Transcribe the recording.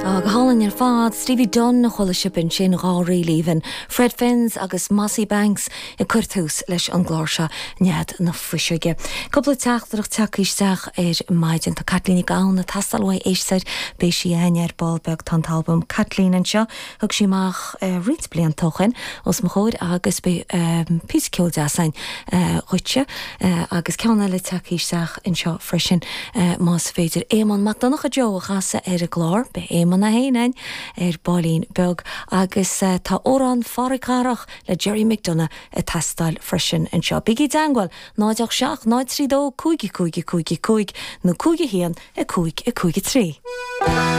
Go hálainn ar fad, Stevie Dunne a chuala sibh ansin, dhá ríl aoibhinn, Fred Fynes agus Mossy Banks ag cur tús leis an gclár seo, Nead na Fuiseoige. Cúpla teachtaireacht tagtha isteach ar maidin. Tá Caitlín Nic Gabhann ag teastáil uaidh éisteoir, beidh sí againn ar ball beag. Tá an t-albam Caitlín anseo. Thug sí amach roinnt blianta ó shin os mo chomhair agus beidh píosa ceoil deas againn dhuitse agus ceann eile tagtha isteach anseo freisin más féidir Éamonn Mac Donncha Joe a chasadh ar an gclár. Beidh Éamonn é féin againn ar baillín beag agus tá Amhrán Phádraig Cathrach le Gerry McDonagh ag teastáil freisin anseo. Bígí i dteangmháil, 0 8 7 0 3 2 5 5 5 5 nó 5 1 5 5 3.